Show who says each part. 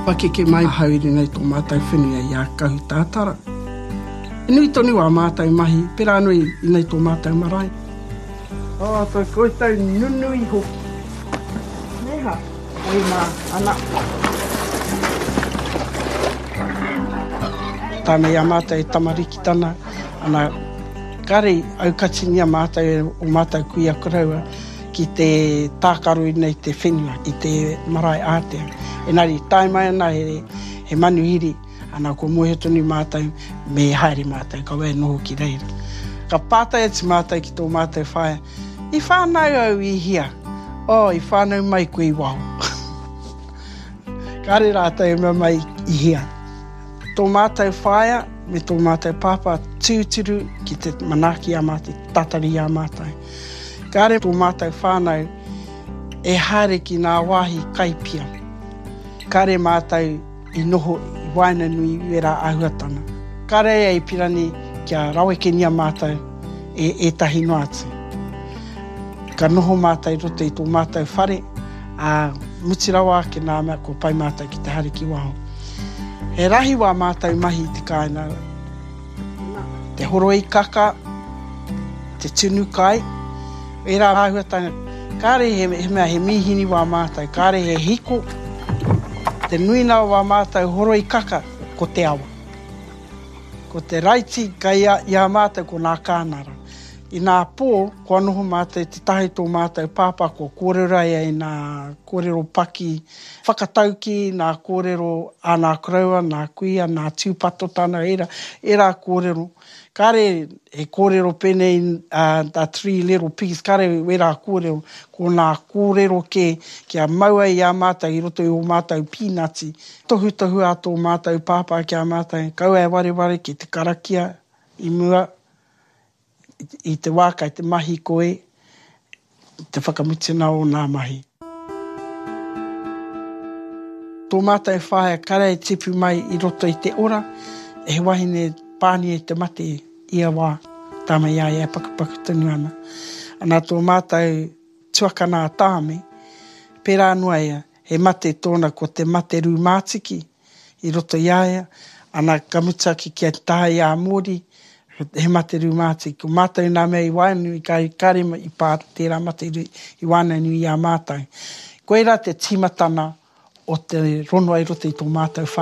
Speaker 1: Pakeke mai ahau i runga i tō mātou whenua i a Kahutātara. He nui tonu ā mātou mahi, pērā anō i nei tō mātou marae. Oh, tō koutou nunui hoki. Nē hā, oi mā, ana. Tāna i a mātou e tamariki tana, ana, kāre i aukatingia mātou e o mātou kuia koroua ki te tākaro i nei te whenua, i te marae ātea. Engari, tae mai ana he, he manuhiri, Ana, kua mōhio tonu mātou me haere mātou, kaua e noho ki reira. Ka pātai atu mātou ki tō mātou whaea, I whānau au i hea? Oh, i whānau mai koe i waho. Kāre rātou e mea mai i hea. Tō mātou whaea me tō mātou pāpā tūturu ki te manaaki i a mātou, te tatari i a mātou. Kāre tō mātou whānau e haere ki ngā wāhi kai pia. Kāre mātou i noho i waenganui i wērā āhuatanga. Kāre ia i pirani kia rawekengia mātou e ētahi noa atu. Ka noho mātou i roto i tō mātou whare, ā, mutu rawa ake nā mea kua pai mātou ki te haere ki waho. He rahi wā mātou mahi i te kāinga. Te horoi kaka, te tunu kai, ērā āhuatanga, kāre he mea he mīhini wā mātou, kāre he hiko, te nuinga o wā mātou horoi kaka, ko te awa. Ko te raiti kai i a mātou ko nā kānara. I nā pō, kua noho mātou i te taha i tō mātou pāpā, kua kōrero ia i nā kōrero paki whakataukī, nā kōrero a nā koroua, nā kuia, nā tūpatotana, ērā, ērā kōrero. Kāre he kōrero pēnei a Three Little Pigs, kāre wērā kōrero, ko nā kōrero kē kia mau ai i a mātou i roto i ō mātou pīnati. Tohutohu a tō mātou pāpā ki a mātou, kaua e wareware ki te karakia i mua, I te wā kai te mahi koe, te whakamutunga o nā mahi. Tō mātou whaea kare e tipu mai i roto i te ora, he wahine pānia i te mate ia wā, tāma i a ia e pakupaku tonu ana. Ana tō mātou tuakana a Tāme, pērā noa ia, He mate tōna ko te mate rūmātiki i roto i a ia, ana ka mutu ake ki a taha i a Mōri, he mate rūmātiki. Ko mātou nā mea i waenganui, kāre i pā tērā mate i waenganui i a mātou. Koirā te tīmatana o te rongoa i roto i tō mātou whānau.